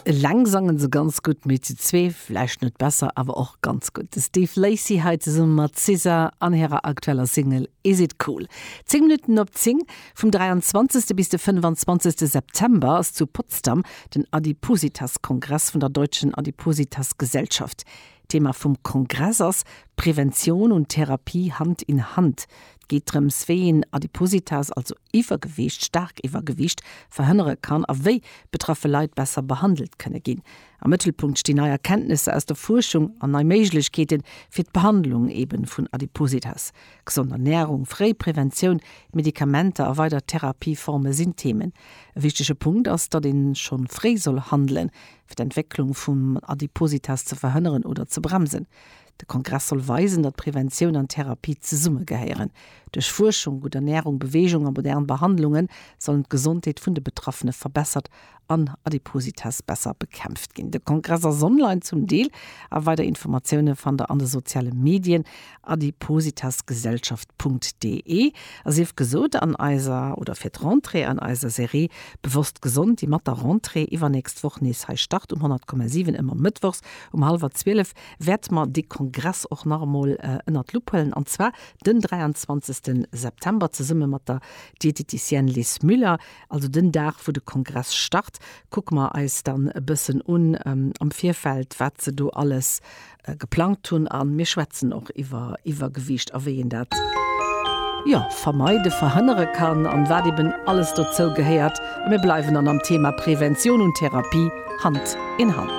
Eleng sangen se ganz gutt, mee zu zwee vläicht net besser, awer och ganz gutt. De Steve Lacy hei zesumme mat SZA an hirer aktueller Single Is It Cool. 10 Minutten op 10 vum 23. Bis de 25. September ass zu Potsdam den Adipositas-Kongress vun der Deutschen Adipositas-Gesellschaft. Thema vum Kongress ass Prävention und Therapie Hand in Hand. Et geet drëms, wéi een Adipositas, also Iwwergewiicht, staark Iwwergewiicht, verhënnere kann a wéi betraffe Leit besser behandelt kënne ginn. Am Mëttelpunkt stinn nei Erkenntnesser aus der Fuerschung an nei Méiglechkeete fir d'Behandlung eben vun Adipositas. Gesond Ernärung, fréi Preventioun, Medikamenter a weider Therapieforme sinn Themen. E wichtege Punkt ass, datt ee schonn fréi soll handelen, fir d'Entwécklung vum Adipositas ze verhënneren oder ze bremsen. De Kongress soll weisen, datt Preventioun an Therapie zesummegehéieren. Duerch Fuerschung, gutt Ernärung, Beweegung a modern Behandlunge sollen d'Gesondheet vun de Betraffene verbessert an Adipositas besser bekämpft ginn. De Kongress ass online zum Deel a weider Informatioune fannt der an de soziale Medien adipositasgesellschaft.de. A sief gesot, an eiser, oder fir d'Rentrée an eiser Serie Bewosst gesond, déi mat der Rentrée iwwernächst Woch nees hei start um 100,7 ëmmer mëttwochs um hallwer 12, wäerte mer dee Kongress och nach emol ënnert d'Lupp huelen, an zwar den 23. September zesumme mat der Dieteticienne Liz Müller, also den Dag wou de Kongress start, kucke mer eis dann e bëssen un am Virfeld, wat se do alles geplangt hunn a mir schwätzen och iwwer Iwwergewiicht a wéi een dat, jo, vermeide, verhënnere kann an wat eben alles dozou gehéiert. A mir bleiwen dann am Thema Prävention und Therapie Hand in Hand.